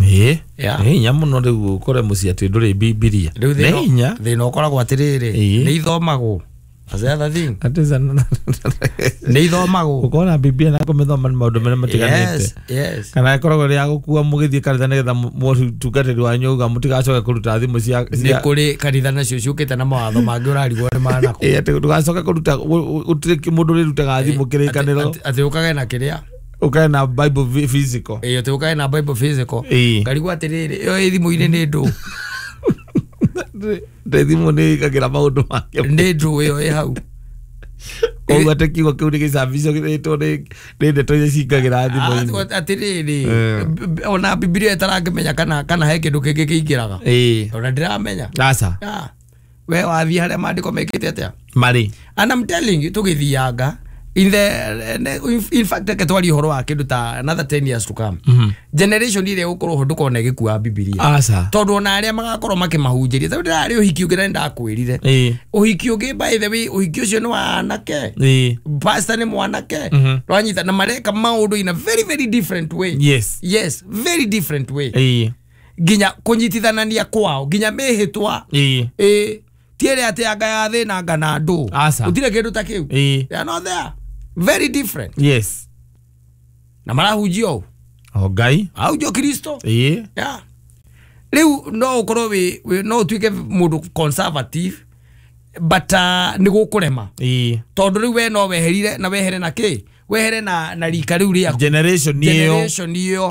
Nĩ hinya mũno rĩu ũkore mũciĩ atĩ ndũrĩ Bibilia. Nĩ hinya. Thĩna ũkoragwo atĩrĩrĩ, nĩ ithomagwo. That's the other thing. Nĩ ithomagwo. Gũkorwo na Bibilia na kũmĩthoma nĩ maũndũ merĩ matiganĩte. Yes, yes. Kana ĩkoragwo ĩrĩ ya gũkua mũgĩthiĩ kanitha nĩgetha mũtungatĩri wanyu auga mũtigacoke kũruta thimũ cia Nĩ kũrĩ kanitha nacio ciũkĩte na mawatho mangĩ ũrarigwo nĩ manakũ. Atĩ ndũgacoke kũruta, gũtirĩ mũndũ ũrĩrutaga thimũ kĩrĩkanĩro. Atĩ ũkage na kĩrĩa? Ũkage na Bible physical. Atĩ ũkage na Bible physical. Ngarigwo atĩrĩrĩ, ĩyo ĩ thimũ-inĩ nĩ ndũ. Ndĩ thimũ nĩ ĩkagĩra maũndũ make. Nĩ ndũ ĩyo ĩ hau. Koguo atĩ kiugo kĩu nĩ gĩcabicwo gĩthĩtwo nĩ ndeto iria cingagĩra thimũ-inĩ. Atĩrĩrĩ, ona Bibilia ĩtarangĩmenya kana he kĩndũ kĩngĩ kĩingĩraga. Ona ndĩramenya. Aca. We wathiĩ harĩa maandĩko mekĩte atĩa? Marĩ. And I'm telling you, tũgĩthianga in fact reke twarie ũhoro wa kĩndũ ta another 10 years to come. Generation ĩrĩa ĩgũkorwo ho ndũkona ĩgĩkua Bibilia. Aca. Tondũ ona arĩa magakorwo makĩmahunjĩria, tondũ ndĩrarĩ ũhiki ũngĩ na nĩndakwĩrire. Ũhiki ũngĩ, by the way, ũhiki ũcio nĩ wa anake. Pastor nĩ mwanake. Rwanyita na mareka maũndũ in a very very different way. Yes. Yes, very different way. Nginya kũnyitithanania kwao, nginya mĩhĩtwa. Ti ĩrĩa atĩ anga ya thĩna anga na andũ. Gũtirĩ kĩndũ ta kĩu. They are not there. Very different. Yes. Na marahunjia ũũ. O Ngai. Ahunjio Kristo. Yeah. Rĩu no ũkorwo wĩ no ũtuĩke mũndũ conservative but nĩ gũkũrema. Tondũ rĩu we no weherire na wehere na kĩ? Wehere na rika rĩu rĩaku. Generation ĩyo. Generation ĩyo.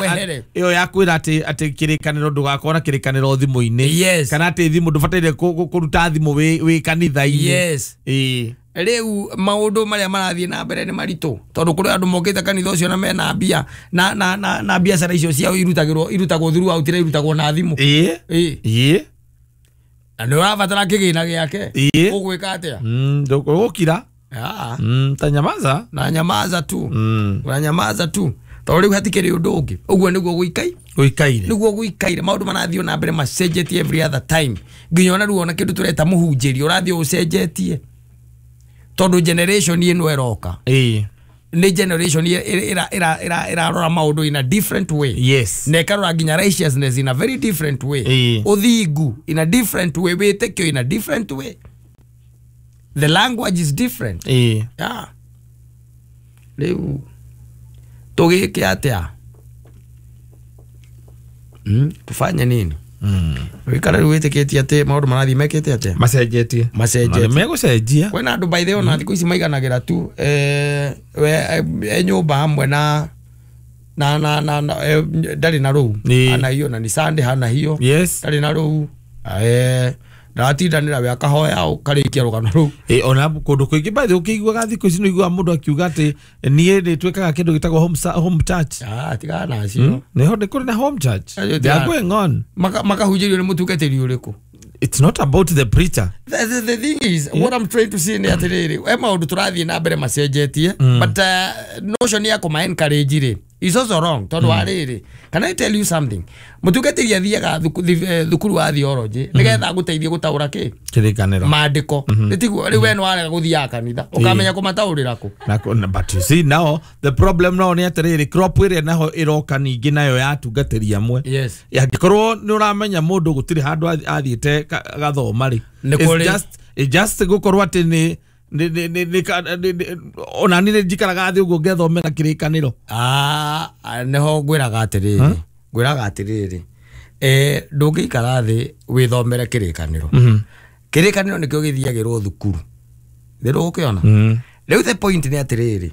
Wehere. Ĩyo ya kwĩra atĩ kĩrĩkanĩro ndũgakorwo na kĩrĩkanĩro thimũ-inĩ. Yes. Kana atĩ thimũ ndũbataire kũruta thimũ wĩ kanitha-inĩ. Yes. Rĩu maũndũ marĩa marathiĩ na mbere nĩ maritũ tondũ kũrĩ andũ mokĩte kanitha ũcio na mena mbia na biacara icio ciao irutagwo throughout na irutagwo na thimũ. Na nĩ ũrabatara kĩgĩna gĩake. Ũgwĩka atĩa? Ndũgũkira. Tanyamaza. Na nyamaza tu. Na nyamaza tu. Tondũ rĩu hatikĩrĩ ũndũ ũngĩ. Ũguo nĩguo gũikaire. Nĩguo gũikaire. Maũndũ marathiĩ na mbere macenjetie every other time. Nginya ona rĩu ona kĩndũ tũreta mũhunjĩri ũrathiĩ ũcenjetie. Tondũ generation ĩno ĩroka. Nĩ generation ĩrarora maũndũ in a different way. Yes. Na ĩkarora nginya righteousness in a very different way. Ũthingu in a different way. Wĩtĩkio in a different way. The language is different. Yeah. Rĩu tũgĩke atĩa? Tufanye nini? Wikara rĩu wĩtĩkĩtie atĩ maũndũ marathiĩ mekĩte atĩa? Macenjetie. Macenjetie. Megũcenjia. Kwĩna andũ by the way ona thikũ ici maiganagĩra tu e nyũmba hamwe na ndarĩ na rũu. Hana hiyo na ni Sunday hana hiyo. Yes. Ndarĩ na rũu. Ndaratindanĩra we akahoya ũkarĩkia rũgano rũu. Ona kũndũ kũingĩ by the way ũkĩiguaga thikũ ici nĩ ũiguaga mũndũ akiuga atĩ niĩ nĩ twĩkaga kĩndũ gĩtagwo home church. Tigana nacio. Nĩho nĩ kũrĩ na home church. They are going on. Makahunjĩrio nĩ mũtungatĩri ũrĩkũ? It's not about the preacher. The thing is, what I'm trying to say nĩ atĩrĩrĩ, he maũndũ tũrathiĩ na mbere macenjetie, but notion ya kũma encourage rĩ is also wrong. Tondũ wa rĩrĩ, can I tell you something? Mũtungatĩri athiaga thukuru wa theology nĩgetha agũteithie gũtaũra kĩ? Kĩrĩkanĩro. Maandĩko. Nĩ rĩu we nĩ warega gũthiaga kanitha, ũkamenya kũmataũrĩra kũ? But you see now, the problem now nĩ atĩrĩrĩ, crop ĩrĩa naho ĩroka ningĩ nayo ya atungatĩri amwe. Yes. Angĩkorwo nĩ ũramenya mũndũ gũtirĩ handũ athiĩte gathoma rĩ. It's just gũkorwo atĩ nĩ ona niĩ njikaraga thĩ ũguo ngethomera kĩrĩkanĩro. Nĩho ngwĩraga atĩrĩrĩ, ndũngĩikara thĩ wĩthomere kĩrĩkanĩro. Kĩrĩkanĩro nĩkĩo gĩthiagĩrwo thukuru. Nĩ ũgũkĩona? Rĩu the point nĩ atĩrĩrĩ,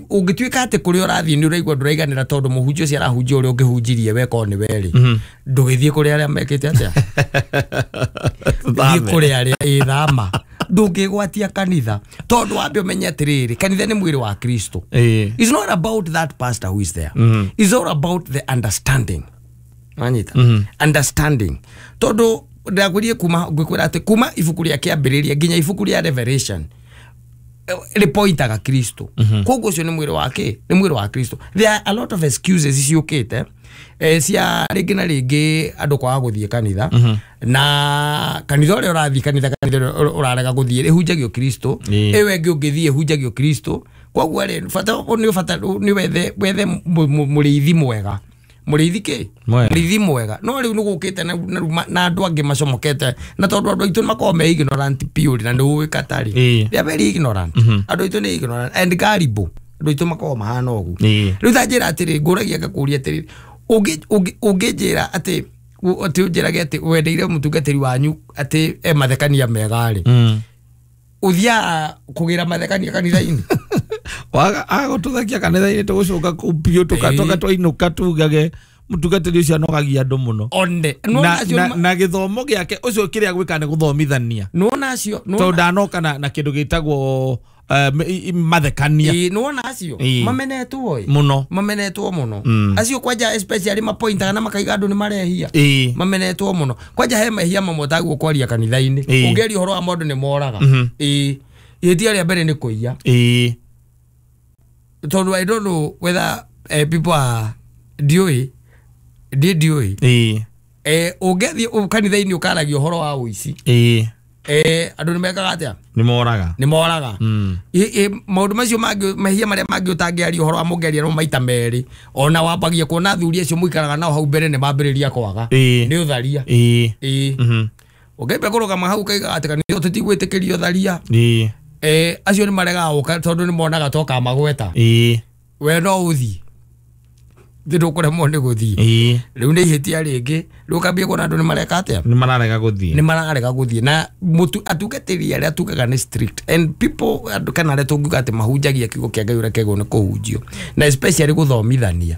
ũngĩtuĩka atĩ kũrĩa ũrathiĩ nĩ ũraigua ndũraiganĩra tondũ mũhunjia ũcio arahunjia ũrĩa ũngĩhunjirie we korwo nĩ we rĩ, ndũgĩthiĩ kũrĩ arĩa mekĩte atĩa? Thiĩ kũrĩ arĩa ĩthama. Ndũngĩgwatia kanitha tondũ wambe ũmenye atĩrĩrĩ, kanitha nĩ mwĩrĩ wa Kristo. It's not about that pastor who is there. It's all about the understanding. Wanyita? Understanding. Tondũ ndakwĩrire kuma ngwĩkwĩra atĩ kuma ibuku rĩa kĩambĩrĩria nginya ibuku rĩa Revelation rĩpointaga Kristo. Koguo ũcio nĩ mwĩrĩ wake, nĩ mwĩrĩ wa Kristo. There are a lot of excuses ciũkĩte cia rĩngĩ na rĩngĩ andũ kwaga gũthiĩ kanitha, na kanitha ũrĩa ũrathiĩ kanitha ũrarega gũthiĩ ĩhunjagio Kristo, ĩyo ĩngĩ ũngĩthiĩ ĩhunjagio Kristo. Koguo rĩ, bata nĩ bata nĩ wethe mũrĩithi mwega. Mũrĩithi kĩ? Mũrĩithi mwega. No rĩu nĩ gũkĩte na andũ angĩ macomokete na tondũ andũ aitũ makoragwo me ignorant purely na nĩ ũĩ katarĩ. They are very ignorant. Andũ aitũ nĩ ignorant and gullible. Andũ aitũ makoragwo mahana ũguo. Rĩu ta njĩra atĩrĩ, ngũragia ngakũria atĩrĩ, ũngĩnjĩra atĩ ũnjĩrage atĩ wendeire mũtungatĩri wanyu atĩ e mathekania mega rĩ, ũthiaga kũgĩra mathekania kanitha-inĩ? Agũtũthekia kanitha-inĩ tũgũcoka kũu biũ tũgatoka twainũka tugage mũtungatĩri ũcio anogagia andũ mũno. One. Na gĩthomo gĩake ũcio kĩrĩa gwĩka nĩ gũthomithania. Nĩwona acio tondũ ndanoka na kĩndũ gĩtagwo mathekania. Nĩwona acio mamenetwo ĩ mũno, mamenetwo mũno acio kwanja especially mapointaga na makaiga andũ nĩ marehia. Mamenetwo mũno kwanja he mehia mamwe taguo kwaria kanitha-inĩ. Ũngĩaria ũhoro wa maũndũ nĩ moraga. Ihĩtia rĩa mbere nĩ kũiya. Tondũ I don't know whether people are ndiũĩ ndiũĩ. Ũngĩthiĩ kanitha-inĩ ũkaragia ũhoro wa ũici, andũ nĩ mekaga atĩa? Nĩ moraga. Nĩ moraga. Maũndũ macio mangĩ mehia marĩa mangĩ ũtangĩaria ũhoro wa mũngĩaria no maita merĩ, ona wambagia kuona athuri acio mũikaraga nao hau mbere nĩ mambĩrĩria kwaga. Nĩ ũtharia. Ũngĩambia kũrũgama hau ũkaiga atĩ kanitha tũtigwĩtĩkĩria ũtharia, acio nĩ maregaga gũka tondũ nĩ monaga toka magweta. We no ũthiĩ thĩ ndũkũremwo nĩ gũthiĩ. Rĩu nĩ ihĩtia rĩngĩ. Rĩu ũkambia kuona andũ nĩ mareka atĩa? Nĩ mararega gũthiĩ. Nĩ mararega gũthiĩ. Na atungatĩri arĩa tugaga nĩ strict and people andũ kana arĩa tũngiuga atĩ mahunjagia kiugo kĩa Ngai ũrĩa kĩagĩrĩirwo nĩ kũhunjio, na especially gũthomithania,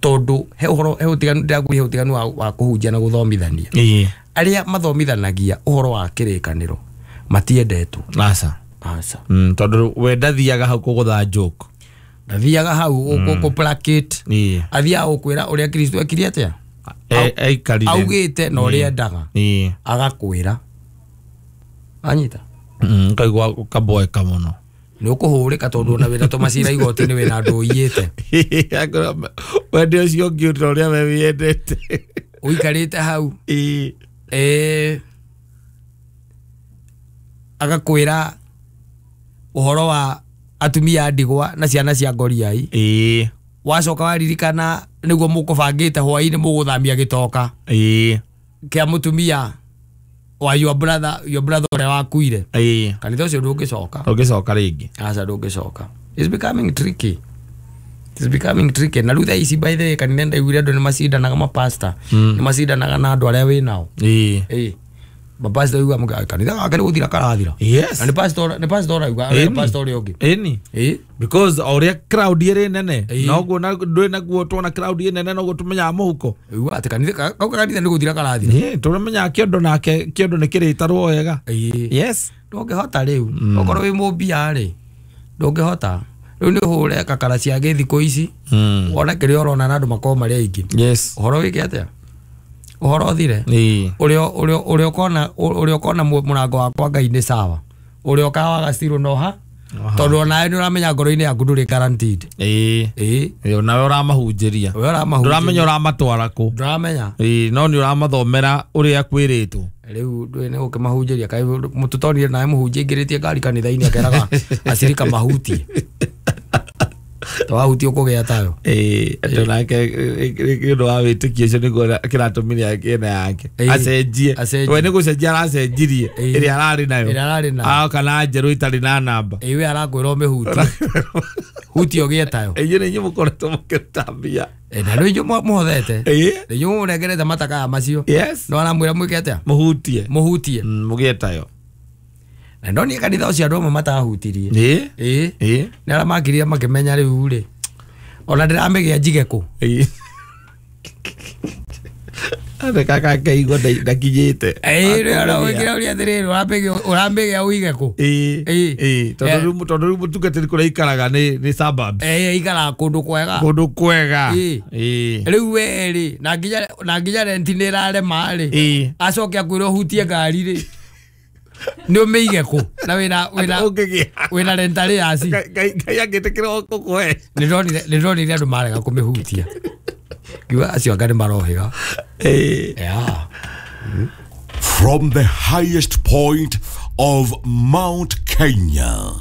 tondũ he ũhoro he ũtiganu ndĩrakwĩra he ũtiganu wa kũhunjia na gũthomithania. Arĩa mathomithanagia ũhoro wa kĩrĩkanĩro matiendetwo. Aca. Aca. Tondũ we ndathiaga hau kũgũtha joke. Ndathiaga hau gũplakate. Athiaga gũkwĩra ũrĩa Kristo ekire atĩa? Aikarire. Augĩte na ũrĩa endaga. Agakwĩra. Anyita. Ũkaigua ũkaboeka mũno. Nĩ ũkũhũrĩka tondũ ona wĩna tũmacira igoti-inĩ wĩna andũ ũiyĩte. Wende ũcio ũngĩ ũta ũrĩa we wĩendete. Ũikarĩte hau. Agakwĩra ũhoro wa atumia a ndigwa na ciana cia ngoriai. Wacoka waririkana nĩguo mũkũbangĩte hwaĩ-inĩ mũgũthamia gĩtoka kĩa mũtumia wa your brother ũrĩa wakuire. Kanitha ũcio ndũngĩcoka. Ndũngĩcoka rĩngĩ. Aca ndũngĩcoka. It's becoming tricky. It's becoming tricky. Na rĩu thaa ici by the way kanitha ndaiguire andũ nĩ macindanaga mapasta. Nĩ macindanaga na andũ arĩa wĩ nao. Mapasta uga kanitha gake nĩ gũthira karathira. Yes. Na nĩ pastor auga nĩ pastor ũrĩa ũngĩ. Because ũrĩa crowd ĩrĩ nene noguo ndũrĩ naguo tuona crowd ĩ nene noguo tũmenyaga mũhuko. Uga atĩ kanitha kau kanitha nĩ gũthira karathira. Tũramenyaga kĩondo nake kĩondo nĩ kĩrĩtarwo wega. Yes. Ndũngĩhota rĩu. Okorwo wĩ mũmbia rĩ ndũngĩhota. Rĩu nĩ ũhũre kakara cia gĩthikũ ici. Wone kĩrĩa ũrona na andũ makorwo marĩ aingĩ. Yes. Ũhoro wĩke atĩa? Ũhoro ũthire. Ũrĩa ũkona mũrango wakwa Ngai nĩ sawa. Ũrĩa ũkawaga ciro noha tondũ onawe nĩ ũramenya ngoro-inĩ yaku ndũrĩ guaranteed. Nawe ũramahunjĩria. Ndũramenya ũramatwara kũ. Ndũramenya. No nĩ ũramathomera ũrĩa kwĩrĩtwo. Rĩu ndũĩ nĩ gũkĩmahunjĩria kaĩ mũtũtonire nawe mũhunjia aingĩrĩtie ngari kanitha-inĩ akeraga acirika mahutie. Twahutie ũkũgĩa tayo. Andũ nake nĩ ũndũ wa wĩtĩkio ũcio nĩguo kĩratũmire ena yake acenjie. We nĩ gũcenjia aracenjirie ĩrĩa ararĩ nayo. Aoka na njerũ itarĩ na namba. We arakwĩra ũmĩhutie. Hutie ũgĩe tayo. Inyuĩ nĩ inyuĩ mũkoretwo mũkĩruta mbia. Na rĩu inyuĩ mũhothete. Nĩ inyuĩ mũnengerete matakaya macio. Yes. No aramwĩra mwĩke atĩa? Mũhutie. Mũhutie. Mũgĩe tayo. Na ndonire kanitha ũcio andũ amwe matahutirie. Nĩ arĩa makirire makĩmenya rĩu rĩ ona ndĩramĩgĩa njige kũ. Kaka kaigua ndakinyĩte. Ũrĩa ũrĩa atĩrĩrĩ ũramĩgĩa ũige kũ. Tondũ rĩu mũtungatĩri kũrĩa aikaraga nĩ suburbs. Aikaraga kũndũ kwega. Kũndũ kwega. Rĩu we rĩ na nginya renti nĩ ĩrarema rĩ acoke akwĩre ũhutie ngari rĩ nĩ ũmĩige kũ na wĩna rentarĩ yaci. Ngai angĩtĩkĩra gũkũhe. Nĩ ndonire andũ marega kũmĩhutia. Ngiuga acio anga nĩ marohĩga. Yeah. From the highest point of Mount Kenya,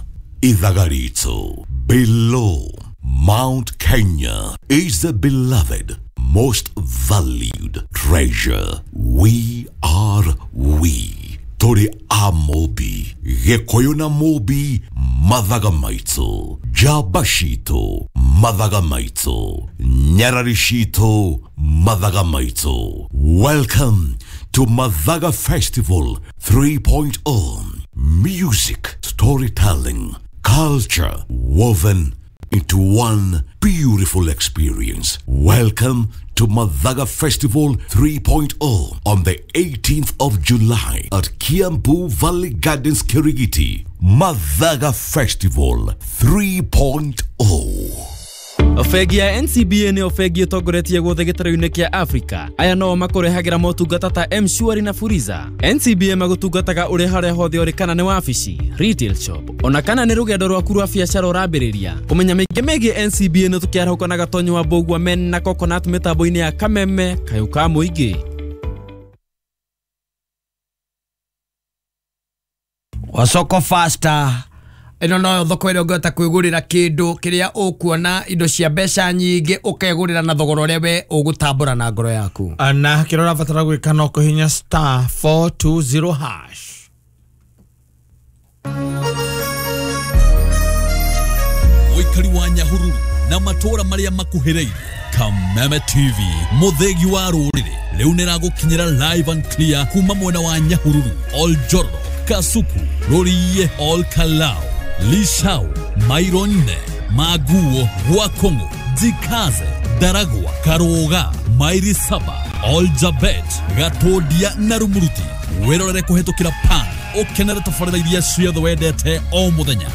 Ithagarito, below Mount Kenya is the beloved most valued treasure. We are we. Tũrĩ a Mũmbi, Gĩkũyũ na Mũmbi, mathaga maitũ, njamba citũ, mathaga maitũ, nyarari citũ, mathaga maitũ. Welcome to Mathaga Festival 3.0. Music, storytelling, culture woven into one beautiful experience. Welcome to Mathaga Festival 3.0 on the 18th of July at Kiambu Valley Gardens, Kirigiti. Mathaga Festival 3.0. Bengi ya NCBA nĩyo bengi ĩtongoretie guothe gĩtarũ-inĩ kĩa Africa. Aya no makũrehagĩra motungata ta M-Shwari na Fuliza. NCBA magũtungataga ũrĩ harĩa hothe ũrĩ, kana nĩ wabici, retail shop, ona kana nĩ rũgendo rwaku rwa biacara ũrambĩrĩria. Kũmenya mĩingĩ megiĩ NCBA nĩ tũkĩarahũka na Gatonyo wa Mbũgua men na Coconut mĩtambo-inĩ ya Kameme kayũ ka mũingĩ. Wasoko faster ĩno noyo thoko ĩrĩa ũngĩhota kwĩgũrĩra kĩndũ kĩrĩa ũkuona indo cia mbeca nyingĩ, ũkegũrĩra na thogora ũrĩa we ũgũtambũra na ngoro yaku. Na kĩrĩa ũrabatara gwĩka no kũhihinya star 420 hash. Mũikari wa Nyahururu na matũũra marĩa makuhĩrĩirie, Kameme TV mũthĩgi wa rũrĩrĩ rĩu nĩragũkinyĩra live and clear kuma mwena wa Nyahururu, Oljoro, Kasuku, Rũriĩ, Olkalau, Lishau, Mairo nne, Maguo, Gwakongo, Jikaze, Daragwa, Karoga, Mairi saba, Oljabet, Gatondia na Rumuruti. Wĩrorere kũhĩtũkĩra pan, ũkenere tabarĩra iria ciothe wendete o mũthenya.